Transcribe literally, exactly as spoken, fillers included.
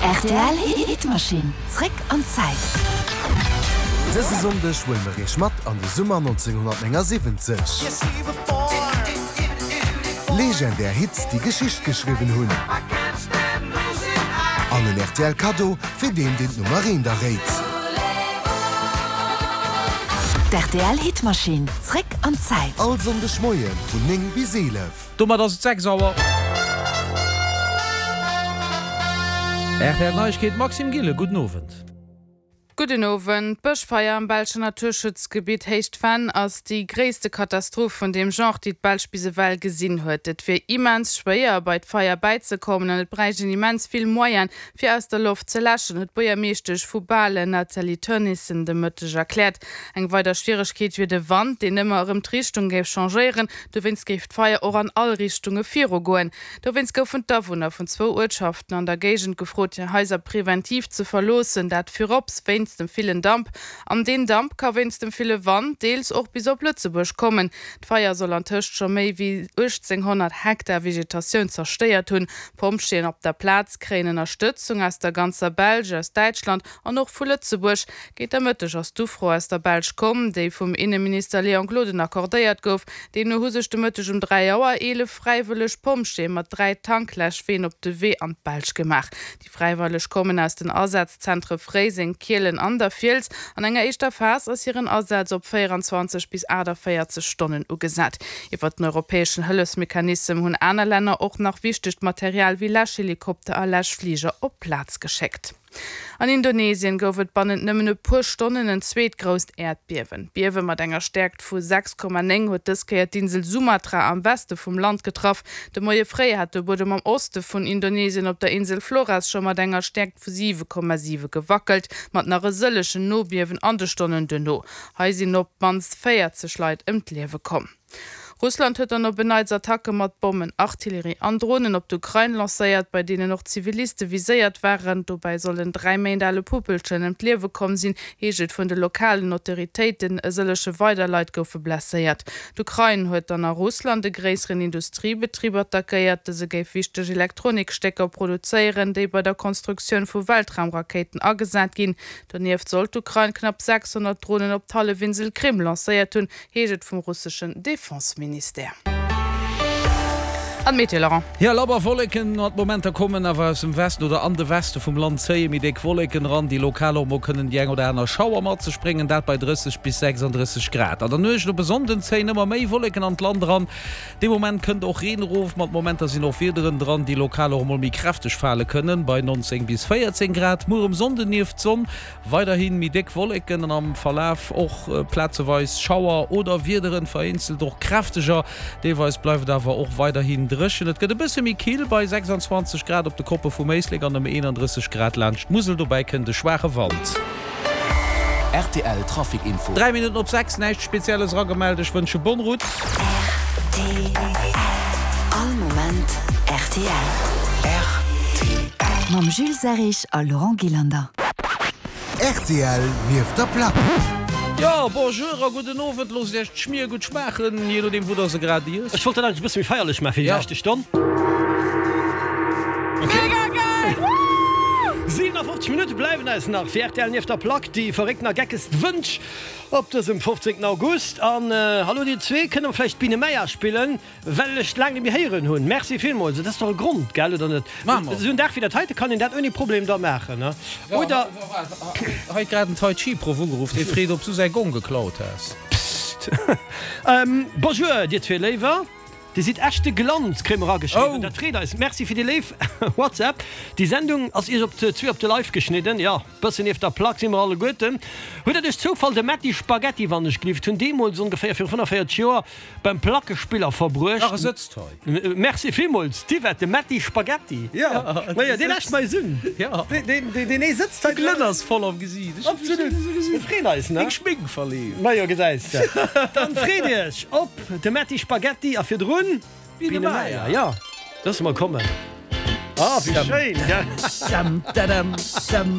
Rtl Hitmaschinn, zréck an d'Zäit. Dëse Sonndeg huele mer iech mat an de Summer nonzénghunnertnéngasiwwenzeg. Legendär Hits, déi Geschicht geschriwwen hunn. An en rtl Kaddo fir deen, deen d'Nummer eent erréit. D'RTL Hitmaschinn, zréck an d'Zäit. All Sonndeg Moie vun néng bis eelef. Domat ass et sechs Auer. Rtl Neiegkeet, Maxime Gillen, gudden Owend. Gudden Owend. D'Bëschfeier am belschen Naturschutzgebitt Héicht Venn ass déi gréisste Katastroph vun deem Genre, déi d'Belsch bis ewell gesinn huet. Et wier immens schwéier, bei d'Feier bäizekommen an et bräicht een immens vill Moyene fir aus der Loft ze läschen, huet d'Buergermeeschtesch vu Balen, Nathalie Teunissen, de Mëtteg erkläert. Eng weider Schwieregkeet wier de Wand, deen ëmmer erëm d'Richtung géif changéieren. Dowéinst géif d'Feier och an all Richtunge virugoen. Dowéinst goufen d'Awunner vun zwou Uertschaften an der Géigend gefrot, hir Haiser preventiv ze verloossen, dat virops wéinst dem villen Damp. An deen Damp ka wéinst dem ville Wand deels och bis op Lëtzebuerg kommen. D'Feier soll antëscht scho méi wéi uechtzénghonnert Hektar Vegetatioun zerstéiert hunn. D'Pompjeeën op der Plaz kréien Ënnerstëtzung aus der ganzer Belsch, aus Däitschland an och vu Lëtzebuerg. Géint der Mëtteg ass d'Ufro aus der Belsch komm, déi vum Inneminister Léon Gloden accordéiert gouf. Deemno hu sech de Mëtteg um dräi Auer eelef fräiwëlleg Pompjeeë mat dräi Tankläschween op de Wee an d'Belsch gemaach. Déi Fräiwëlleg kommen aus den Asazzentre Fréiseng, Kielen an der Fiels. An enger éischter Phas ass hiren Asaz op véieranzwanzeg bis aachtavéierzeg Stonnen ugesat. Iwwer den europäeschen Hëllefsmechanissem hunn aner Länner och nach wichtegt Material wéi Läschhelikopter a Läschfliger op d'Plaz geschéckt. An Indonesien gouf et bannent nëmmen e puer Stonnen en zweet grousst Äerdbiewen. D'Biewe mat enger Stäerkt vu sechs Komma néng huet dës Kéier d'Insel Sumatra am Weste vum Land getraff. De Moie fréi hat de Buedem am Oste vun Indonesien op der Insel Flores scho mat enger Stäerkt vu siwe Komma siwe gewackelt, mat nach e sëllegen Nobiewen an de Stonnen duerno. Hei sinn op d'mannst véierzeg Leit ëm d'Liewe komm. Russland huet dann op en Neits Attacke mat Bommen, Artillerie an Dronen op d'Ukrain lancéiert, bei deenen och Ziviliste viséiert waren. Dobäi soll en dräi Méint ale Puppelchen ëm d'Liewe komm sinn, heescht et vun de lokalen Autoritéiten. E sëllege weider Leit goufe blesséiert. D'Ukrain huet dann a Russland e gréisseren Industriebetrib attackéiert. Dëse géif wichteg Elektronikstécker produzéieren, déi bei der Konstruktioun vu Weltraumrakéiten agesat ginn. Donieft soll d'Ukrain knapp sechshonnert Dronen op d'Hallefinsel Krim lancéiert hunn, heescht et vum russeschen Defenseministère. An d'Meteo, Laurent. Jo, labber Wolleken mat Momenter kommen awer aus dem Westen oder an de Weste vum Land zéie méi déck Wolleken eran, déi lokal och mol kënnen déi eng oder aner Schauer mat sech bréngen, dat bei drësseg bis sechsanddrësseg Grad. An der Nuecht op e Sonnden zéien ëmmer méi Wolleken an d'Land eran. Dee Moment kënnt och Reen erof, mat Momenter sinn och Wiederen dran, déi lokal och emol méi kräfteg fale kënnen, bei nonzéng bis véierzéng Grad. Muer um Sonnden nieft Sonn weiderhi méi déck Wolleken an am Verlaf och plazeweis Schauer oder Wiederen, vereenzelt och kräfteger. Deelweis bleift et awer och weiderhin dréchen. Et gëtt e bësse méi kill bei sechsandzwanzeg Grad op de Koppe vum Éislek an ëm eenandrësseg Grad laanscht d'Musel. Dobäi kënnt e schwaache Wand. Rtl Trafic Info. Dräi Minutten op sechs, näischt Spezielles eragemellt. Ech wënsche bonne route. Rtl, All Moment rtl. Rtl. Mam Jules Serrig a Laurent Gillander. Rtl nieft der Plack. Jo, bonjour a gudden Owend. Loosst iech d'Schmier gutt schmaachen, jee nodeem wou der se grad iesst. Ech wollt dat eigentlech e bësse méi feierlech maachen fir déi leschte Stonn. Mega geil! Woo! siwenafoffzeg Minutte bleiwen eis nach fir rtl nieft der Plack, déi verréckten a geckegst Wënsch op dësem fofzéngten August. An hallo dir zwee, kënne mer vläicht d'Biene Meier spillen? Well ech laang net méi héieren hunn. Merci villmools. Et ass dach e Grond, gell, oder net? Esou en Dag wéi dat heite kann een dat ouni Problem da maachen, ne? Oder. Hei huet grad en Tai Chi Proff ugeruff, dee freet ob s du säi Gong geklaut häss. Psst. Bonjour dir zwee Léiwer. Dir sidd echt de Glanz, kréie mer erageschriwwen. Dat freet eis. Merci fir déi léif WhatsApp. Déi Sendung ass iech op zwee op de Leif geschnidden. Jo, bëssen nieft der Plack si mer alleguerten. Hutt der duerch Zoufall de Metti Spaghetti wann ech gelift hunn deemools ongeféier viru fënnefvéierzeg Joer beim Plackespiller verbruecht? Ach, e sëtzt hei. Merci villmools d'Yvette, de Metti Spaghetti. Jo, majo, deen läscht mer eis un. Deen, deen ee sëtzt hei. De Glënn ass voll am Gesiit. Absolut. Mir freeën eis, ne? Deng Schmink verleeft. Majo, gesäis de. Dann freet iech op de Metti Spaghetti a virdrun Biene Meier. Jo, loosse mer kommen. Ah, wéi schéin, gell?